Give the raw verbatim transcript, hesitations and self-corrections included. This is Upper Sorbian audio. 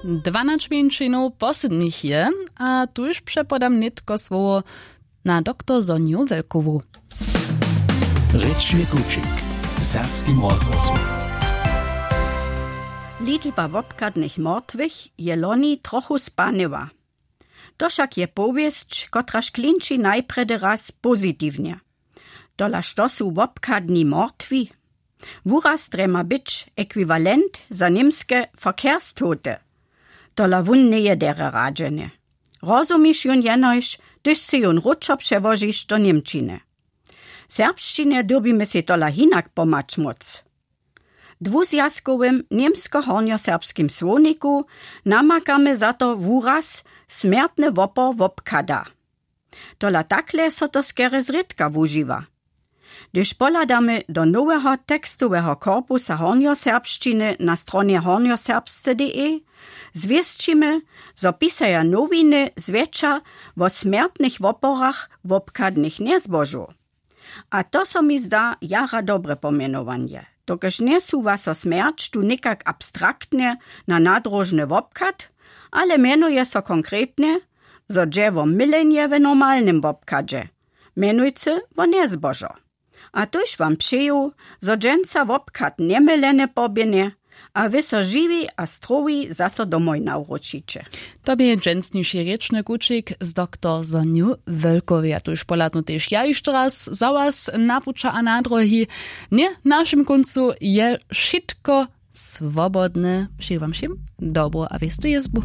Dwanaće mjeńšinow poslednich je, a tuž přepodam nětko słowo na doktor Sonju Wölkowu. Rěčny kućik w serbskim rozhłosu. Ličba wobchadnych mortwych je loni trochu spanyła. To wšak je powěsć, kotraž klinči najprjedy raz pozitiwnje. Tola što su wobchadni mortwi? Wuraz drje ma być ekwiwalent za němske verkehrstote. Tola wón njeje derje radźene. Rozumiš jón jenož, hdyž sy jón wróćo přełožiš do němčiny. Serbšćinje dyrbimy sej tola hinak pomhać móc. W dwuzwjazkowym němsko-hornjoserbskim słowniku namakamy za to wuraz smjertny wopor wobchada. Tola takle so to skerje zrědka wužiwa. Hdyž pohladamy do noweho tekstoweho korpusa hornjoserbšćiny na stronje hornjoserbsce.de, zwěsćimy, zo pisaja nowiny zwjetša wo smjertnych woporach wobchadnych njezbožow. A to so mi zda jara dobre pomjenowanje, dokelž njesuwa so smjerć tu někak abstraktnje na nadróžny wobchad, ale mjenuje so konkretnje, zo dźe wo mylenje w normalnym wobchadźe, mjenujcy wo njezbožo. A tuž wam přeju, zo dźensa wobchad njemylene poběhnje, a wy so žiwi a strowi zaso domoj nawróćiće. To bě dźensniši rěčny kućik z doktor Sonju Wölkowej. A tuž pohladnu tež ja hišće raz za was na puća a na drohi. Ně, w našim kóncu je wšitko swobodne. Přeju wam wšěm dobru a wěstu jězbu.